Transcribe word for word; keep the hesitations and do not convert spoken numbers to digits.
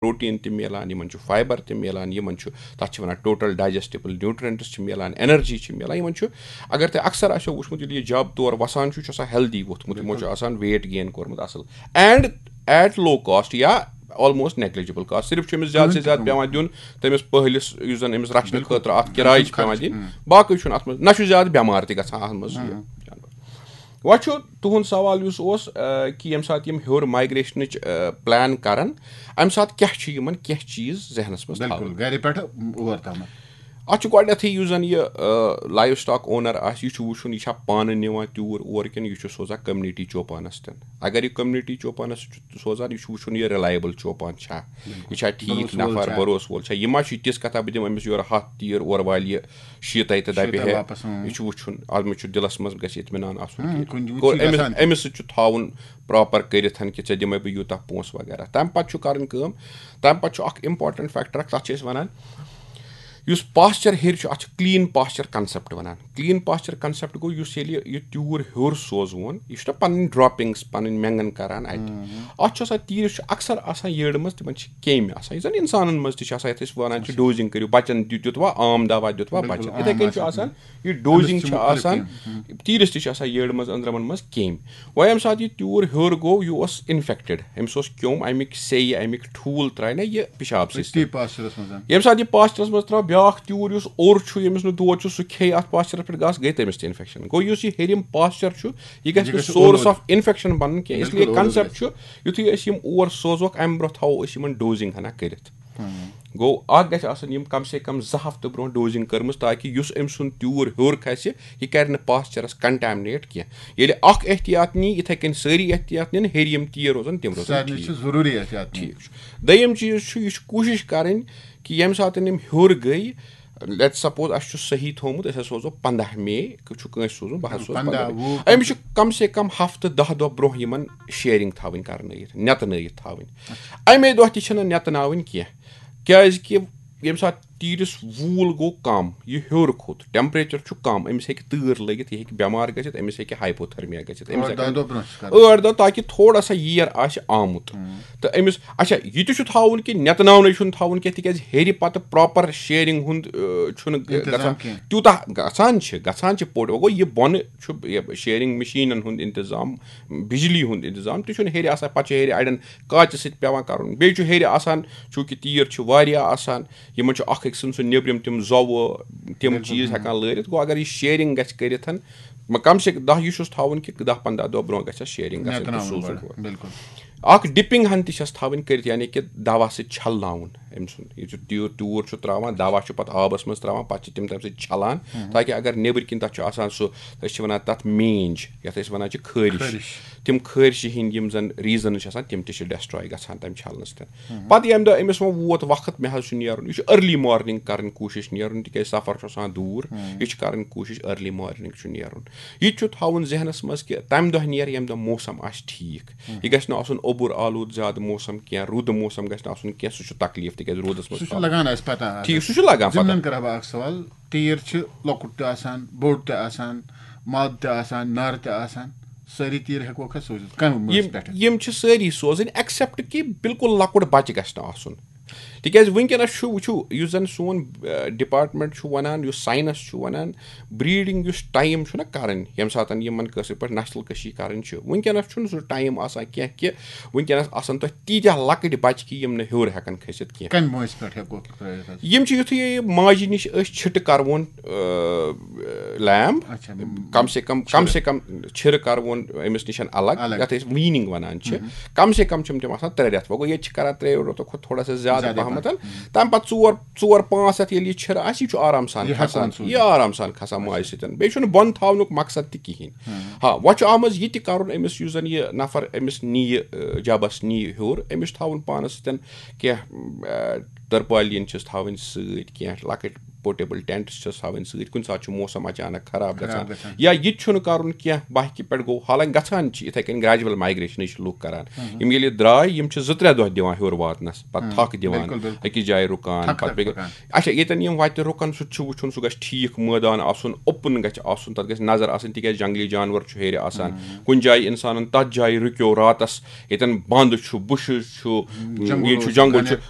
Protein تہِ میلان، یِمن چھُ فایبر تہِ میلان، یِمن چھُ، تَتھ چھِ وَنان ٹوٹل ڈایجسٹیبل نیوٹرینٹس چھِ میلان، انرجی چھِ میلان، یِمن چھُ، اگر تۄہہِ اکثر آسیو وٕچھمُت، ییٚلہِ یہِ جب تور وَسان چھُ، یہِ چھُ آسان ہیلدی ووٚتھمُت، یِمو چھُ آسان ویٹ گین کوٚرمُت اَصٕل، اینڈ ایٹ لو کاسٹ یا آلموسٹ نیگلیجبل کاسٹ، صرف چھُ أمِس زیادٕ سے زیادٕ پٮ۪وان دیُن تٔمِس پٔہلِس، یُس زَن أمِس رَچھنہٕ خٲطرٕ اَتھ کِراے چھِ پٮ۪وان دِنۍ، باقٕے چھُنہٕ اَتھ منٛز، نہ چھُ زیادٕ بٮ۪مار تہِ گژھان اَتھ منٛز یہِ جانور۔ وۄنۍ چھُ تُہُنٛد سوال یُس اوس، آ، کہِ ییٚمہِ ساتہٕ یِم ہیوٚر مایگریشنٕچ، آ، پلان کرن، اَمہِ ساتہٕ کیٛاہ چھُ یِمن کینٛہہ چیٖز ذہنس منٛز تھاوٕنۍ؟ بِلکُل، گرِ پٮ۪ٹھ اور تامَتھ۔ اَتھ چھُ گۄڈٕنیتھٕے یُس زَن یہِ، آ، لایو سٹاک اونر آسہِ، یہِ چھُ وٕچھُن، یہِ چھا پانہٕ نِوان تیوٗر اور کِنہٕ یہِ چھُ سوزان کمیونٹی چوپانس تہِ۔ اگر یہِ کمیونٹی چوپانس چھُ سوزان، یہِ چھُ وٕچھُن، یہِ ریلایبل چوپان چھا، یہِ چھا ٹھیٖک نفر، بروسہٕ وول چھا؟ بروسہٕ وول چھا؟ یہِ ما چھُ یہِ تِژھ کتھا، بہٕ دِمہٕ أمِس یورٕ ہَتھ تیٖر، اورٕ والہِ یہِ شیٖتَے تہٕ دَپہِ شیٖتَے ہے، واپس، اۭں۔ یہِ چھُ وٕچھُن، اَتھ منٛز چھُ دِلَس منٛز گژھِ اطمینان آسُن اۭں، کہِ کُنہِ وِزِ گوٚو چھُ أمِس، گژھان۔ أمِس سۭتۍ چھُ تھاوُن پراپر کٔرِتھ کہِ ژےٚ دِمَے بہٕ یوٗتاہ پونٛسہٕ وغیرہ۔ تَمہِ پَتہٕ چھُ کَرٕنۍ کٲم، تَمہِ پَتہٕ چھُ اَکھ important factor اَکھ، تَتھ چھِ أسۍ وَنان، یُس پاسچر ہیٚرِ چھُ، اَتھ چھُ کلین پاسچر کنسپٹ وَنان۔ کلین پاسچر کنسپٹ گوٚو، یُس ییٚلہِ یہِ تیوٗر ہیوٚر سوزوون، یہِ چھُنہ پَنٕنۍ ڈراپنگس، پَنٕنۍ مٮ۪نٛگن کران اَتہِ۔ اَتھ چھُ آسان، تیٖرِس چھُ اکثر آسان یٔڑ منٛز، تِمن چھِ کیٚمۍ آسان، یُس زَن اِنسانن منٛز تہِ چھُ آسان، یَتھ أسۍ وَنان چھِ ڈوزِنگ کٔرِو، بَچن دیُت، دیُتوا عام دوا، دیُتوا بَچن۔ یِتھَے کٔنۍ چھُ آسان، یہِ ڈوزِنگ چھِ آسان، تیٖرِس تہِ چھِ آسان یٔڑ منٛز، أنٛدرمن منٛز کیٚمۍ۔ وۄنۍ ییٚمہِ ساتہٕ یہِ تیوٗر ہیوٚر گوٚو، یہِ اوس انفیکٹڈ، أمِس اوس کیوٚم، اَمِکۍ سیٚیہِ، اَمِکۍ ٹھوٗل ترٛایہِ نہ یہِ پِشاب سۭتۍ۔ أتی پاسچرس منٛز۔ ییٚمہِ ساتہٕ یہِ پاسچرس منٛز ترٛاو، بیٛاکھ تیوٗر یُس اوٚر چھُ، ییٚمِس نہٕ دود چھُ، سُہ کھیٚیہِ اَتھ پاسچرس پٮ۪ٹھ گاسہٕ، گٔے تٔمِس تہِ انفیکشن۔ گوٚو یُس یہِ ہیٚرِم پاسچر چھُ، یہِ گژھِ یہِ نہٕ گژھِ سورس اوٚلوٗدٕ۔ آف انفیکشن بَنُن کینٛہہ۔ اس لیے بِلکُل اوٚلوٗدٕ کنسپٹ گژھِ۔ چھُ، یُتھُے أسۍ یِم اور سوزوکھ، اَمہِ برونٛہہ تھاوو أسۍ یِمن ڈوزِنگ ہنا کٔرِتھ۔ گوٚو اَکھ گژھِ آسٕنۍ یِم کم سے کم زٕ ہفتہٕ برونٛہہ ڈوزِنگ کٔرمٕژ، تاکہِ یُس أمۍ سُنٛد تیوٗر ہیوٚر کھسہِ، یہِ کرِ نہٕ پاسچرس کنٹیمنیٹ کینٛہہ۔ ییٚلہِ اکھ احتیاط نی، یِتھے کٔنۍ سارے احتیاط نِن، ہیٚرِ یِم تیٖر روزن، تِم روزن سارنٕے ٹھیٖک۔ چھِ ضروٗری احتیاط نِنۍ۔ ٹھیٖک چھُ۔ دوٚیِم چیٖز چھُ، یہِ چھُ کوٗشِش کرٕنۍ کہِ ییٚمہِ ساتہٕ یِم ہیوٚر گٔے، لیٹ سپوز اَسہِ چھُ صحیح تھوٚومُت، أسۍ ہسا سوزو پنٛداہ مے، چھُ کٲنٛسہِ سوزُن، بہٕ حظ سوزٕ پنٛداہ، پنٛداہ مے۔ وُہ۔ أمِس چھُ کم سے کم ہفتہٕ دَہ دۄہ برونٛہہ یِمن شیرنگ تھاوٕنۍ کرنٲیِتھ، نٮ۪تہٕ نٲیِتھ تھاوٕنۍ۔ اَمے دۄہ تہِ چھِنہٕ نٮ۪تہٕ ناوٕنۍ کینٛہہ، کیازِ کہِ ییٚمہِ ساتہٕ تیٖرِس وول گوٚو کم، یہِ ہیوٚر کھوٚت، ٹیمپریچر چھُ کم، أمِس ہیٚکہِ تۭر لٔگِتھ، یہِ ہیٚکہِ بٮ۪مار گٔژھِتھ، أمِس ہیٚکہِ ہایپوتھرمیا گٔژھِتھ، أمِس ٲٹھ دَہ ہیٚکن دۄہ برونٛہہ چھِ کران۔ ٲٹھ دۄہ، تاکہِ تھوڑا سا ییر آسہِ آمُت۔ تہٕ أمِس، اچھا، یہِ تہِ چھُ تھاوُن کہِ نٮ۪تہٕ ناونٕے چھُنہٕ تھاوُن کینٛہہ، تِکیازِ ہیٚرِ پتہٕ پراپر شیرنگ ہُنٛد، آ، چھُنہٕ انتظام گژھان۔ کینٛہہ۔ تیوٗتاہ گژھان چھِ، گژھان چھِ پوٚٹ، وۄنۍ گوٚو یہِ بۄنہٕ چھُ یہِ شیرنگ مِشیٖنن ہُنٛد انتظام، بجلی ہُنٛد انتظام تہِ چھُنہٕ ہیٚرِ آسان، پتہٕ چھُ ہیٚرِ اڑٮ۪ن کاژِ سۭتۍ پٮ۪وان کرُن، بیٚیہِ چھُ ہیٚرِ آسان، چوٗنٛکہِ تیٖر چھِ واریاہ آسان، یِمن چھُ اکھ أکۍ سٕنٛد سُہ نیٚبرِم تِم زۄوٕ، تِم بِلکُل، چیٖز بِلکُل۔ ہٮ۪کان لٲرِتھ۔ گوٚو اگر یہِ شیرنگ گژھِ کٔرِتھ، مہ-، کم سے کم دَہ، یہِ چھُس تھاوُن کہِ دَہ پنٛداہ دۄہ برونٛہہ گژھِ اَتھ شیرنگ گژھٕنۍ تہٕ نٮ۪تہٕ ناوُن سوزُن گۄڈٕ، ہورٕ۔ بِلکُل۔ اکھ ڈِپنگ ہن تہِ چھس تھاوٕنۍ کٔرِتھ، یعنی کہِ دوا سۭتۍ چھلناوُن أمۍ سُنٛد۔ یہِ چھُ تیوٗر، تیوٗر چھُ تراوان، دوا چھُ پتہٕ آبس منٛز تراوان، پتہٕ چھِ تِم تمہِ سۭتۍ چھلان، تاکہِ اگر نیٚبٕرۍ کِنۍ تتھ چھُ آسان سُہ، أسۍ چھِ ونان تتھ مینج، یتھ أسۍ ونان چھِ خٲرِش۔ خٲرِش۔ تِم خٲرشہِ ہٕنٛدۍ یِم زن ریزنز چھِ آسان، تِم تہِ چھِ ڈسٹراے گژھان تمہِ چھلنہٕ سۭتۍ۔ پتہٕ ییٚمہِ دۄہ أمِس وۄنۍ ووت وقت، مےٚ حظ چھُ نیرُن، یہِ چھُ ارلی مارننگ کرٕنۍ کوٗشش نیرُن، تِکیازِ سفر چھُ آسان دوٗر۔ یہِ چھُ کرٕنۍ کوٗشش ارلی مارننگ چھُ نیرُن۔ یہِ تہِ چھُ تھاوُن ذہنس منٛز کہِ تمہِ دۄہ نیرِ ییٚمہِ دۄہ موسم آسہِ ٹھیٖک۔ یہِ گژھِ نہٕ آسُن اوٚبُر آلود زیادٕ موسم کینٛہہ، رُدٕ موسم گژھِ نہٕ آسُن کینٛہہ، سُہ چھُ تکلیف، تِکیازِ روٗدس منٛز سُہ چھُ تھاوُن۔ لگان اَسہِ پتہ۔ آ، ٹھیٖک، سُہ چھُ لگان پتہ۔ ضمنن کرٕ ہا بہٕ اکھ سوال، تیٖر چھِ لۄکُٹ تہِ آسان، بوٚڑ تہِ آسان، ماد تہِ آسان، نر تہِ آسان، سٲری تیٖر ہٮ۪کوکھ أسۍ سوٗزِتھ کمہِ مٲنٛزِ یِم پٮ۪ٹھ؟ یِم چھِ سٲری سوزٕنۍ، ایکسپٹ کہِ بالکل لۄکُٹ بچہِ گژھِ نہٕ آسُن۔ تِکیازِ وٕنکیٚنس چھُ، وٕچھِو، یُس زن سون، آ، ڈپارٹمنٹ چھُ ونان، یُس ساینس چھُ ونان، بریڈنگ یُس ٹایم چھُ نہ کران، ییٚمہِ ساتہٕ یِمن کٲشِر پٲٹھۍ نسل کشی کرٕنۍ چھِ، وٕنکیٚنس چھُنہٕ سُہ ٹایم آسان کینٛہہ کہِ وٕنکیٚنس آسن تۄہہِ تیٖتیٛاہ لۄکٕٹۍ بچہِ کہِ یِم نہٕ ہیوٚر ہٮ۪کن کھٔسِتھ کینٛہہ۔ کمہِ مٲنٛزِ پٮ۪ٹھ ہٮ۪کوکھ ترٲوِتھ حظ؟ یِم چھِ یُتھُے یہِ ماجہِ نِش أسۍ چھِٹہٕ کرون، آ، لیم، اچھا، کم سے کم، کم چھِرٕ۔ سے کم چھِرٕ کرون أمِس نِش الگ، الگ۔ یتھ أسۍ ویٖننگ ونان چھِ۔ کم سے کم چھِ تِم آسان ترٛےٚ رٮ۪تھ۔ وۄنۍ گوٚو ییٚتہِ چھِ کران ترٛیٚیو رٮ۪تو کھۄتہٕ تھوڑا سا زیادٕ زیادَے پہمتھ۔ پہم۔ تَمہِ پتہٕ ژور، ژور پانٛژھ رٮ۪تھ ییٚلہِ یہِ چھِرٕ آسہِ، یہِ چھُ آرام سان یہِ ہٮ۪کون کھسان، سوٗزِتھ۔ یہِ آرام سان کھسان ماجہِ سۭتۍ۔ بیٚیہِ چھُنہٕ بۄن تھاونُک مقصد تہِ کِہیٖنۍ۔ ہا، وۄنۍ چھُ آمٕژ یہِ تہِ کرُن أمِس، یُس زن یہِ نفر أمِس نِیہِ، آ، جبس نِیہِ ہیوٚر، أمِس چھُ تھاوُن پانس سۭتۍ کینٛہہ، آ، ترپالین چھِس تھاوٕنۍ سۭتۍ، کینٛہہ لۄکٕٹۍ پورٹیبل ٹینٹس چھِس تھاوٕنۍ سۭتۍ۔ کُنہِ ساتہٕ چھُ موسم اچانک خراب خراب گژھان۔ گژھان۔ یا یہِ تہِ چھُنہٕ کرُن کینٛہہ، بہہ کہِ پٮ۪ٹھ گوٚو، حالانکہ گژھان چھِ یِتھے کٔنۍ، گریجول مایگریشنٕے چھِ لُکھ کران۔ یِم ییٚلہِ درٛاے، یِم چھِ زٕ ترٛےٚ دۄہ دِوان ہیوٚر واتنس، پتہٕ تھکھ دِوان، بِلکُل، بِلکُل۔ أکِس جایہِ رُکان، تھکھ پتہٕ تھکھ بیٚیہِ۔ رُکان۔ اچھا، ییٚتٮ۪ن یِم وتہِ رُکن، سُہ تہِ چھُ وٕچھُن، سُہ گژھِ ٹھیٖک مٲدان آسُن، اوپن گژھِ آسُن، تتھ گژھِ نظر آسٕنۍ، تِکیازِ جنگلی جانور چھُ ہیٚرِ آسان۔ کُنہِ جایہِ انسانن تتھ جایہِ رُکیو راتس، ییٚتٮ۪ن بنٛد چھُ، بُشِز چھُ، جنگل ییٚتہِ چھُ اوس، جنگل چھُ، گھنہِ